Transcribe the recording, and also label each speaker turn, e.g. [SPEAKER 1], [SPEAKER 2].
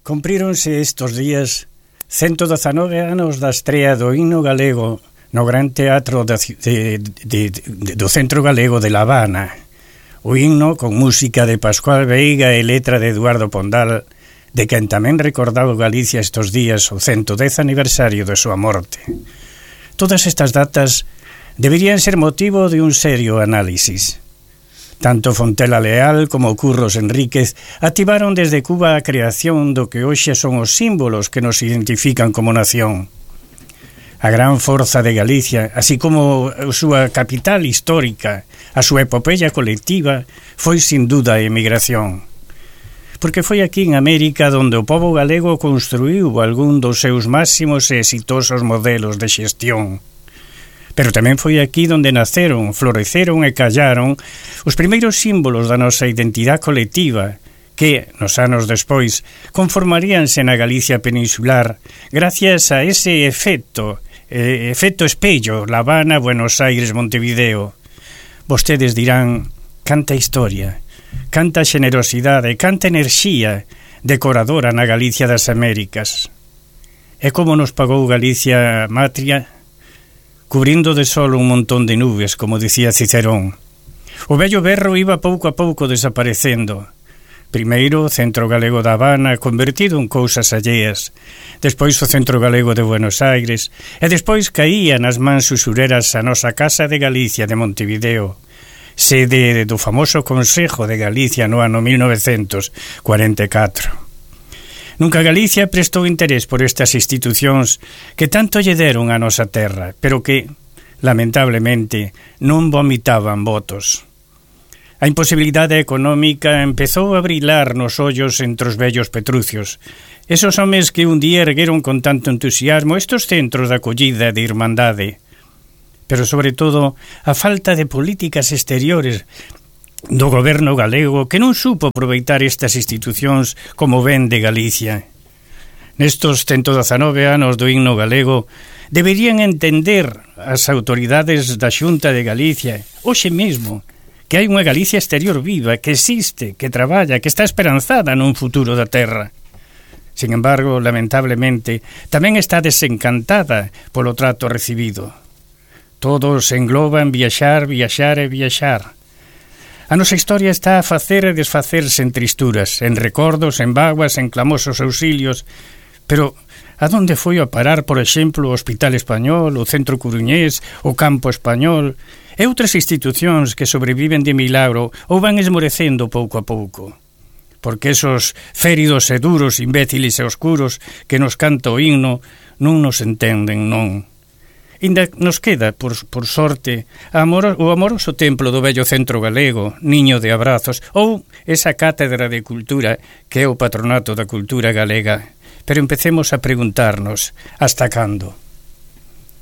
[SPEAKER 1] Cumpríronse estos días 119 anos da estrea do himno galego no Gran Teatro do Centro Galego de La Habana. O himno con música de Pascual Veiga e letra de Eduardo Pondal, de quen tamén recordaba Galicia estos días o 110 aniversario de súa morte. Todas estas datas deberían ser motivo de un serio análisis. Tanto Fontela Leal como Curros Enríquez activaron desde Cuba a creación do que hoxe son os símbolos que nos identifican como nación. A gran forza de Galicia, así como a súa capital histórica, a súa epopeya colectiva, foi sin duda a emigración. Porque foi aquí en América donde o pobo galego construíu algún dos seus máximos e exitosos modelos de xestión. Pero tamén foi aquí donde naceron, floreceron e callaron os primeiros símbolos da nosa identidade colectiva que, nos anos despois, conformaríanse na Galicia peninsular gracias a ese efecto espello, La Habana, Buenos Aires, Montevideo. Vostedes dirán, canta historia, canta xenerosidade, canta enerxía decoradora na Galicia das Américas. E como nos pagou Galicia matria? Cubrindo de sol un montón de nubes, como dicía Cicerón. O vello berro iba pouco a pouco desaparecendo. Primeiro o Centro Galego da Habana, convertido en cousas alleas. Despois o Centro Galego de Buenos Aires. E despois caía nas mans usureras a nosa Casa de Galicia de Montevideo, sede do famoso Consejo de Galicia no ano 1944. Nunca Galicia prestou interés por estas institucións que tanto lle deron a nosa terra, pero que, lamentablemente, non vomitaban votos. A imposibilidade económica empezou a brilar nos ollos entre os vellos petrucios. Esos homes que un día ergueron con tanto entusiasmo estos centros de acollida e de irmandade. Pero, sobre todo, a falta de políticas exteriores do goberno galego que non supo aproveitar estas institucións como ben de Galicia. Nestos 119 anos do himno galego deberían entender as autoridades da Xunta de Galicia hoxe mesmo que hai unha Galicia exterior viva, que existe, que traballa, que está esperanzada nun futuro da terra. Sin embargo, lamentablemente, tamén está desencantada polo trato recibido. Todos engloban viaxar, viaxar e viaxar. A nosa historia está a facer e desfacerse en tristuras, en recordos, en vaguas, en clamosos auxilios. Pero a donde foi a parar, por exemplo, o Hospital Español, o Centro Coruñés, o Campo Español e outras institucións que sobreviven de milagro ou van esmorecendo pouco a pouco? Porque esos féridos e duros, imbéciles e oscuros que nos canta o himno non nos entenden, non. Inda nos queda, por sorte, o amoroso templo do vello Centro Galego, niño de abrazos, ou esa cátedra de cultura que é o patronato da cultura galega. Pero empecemos a preguntarnos, hasta cando?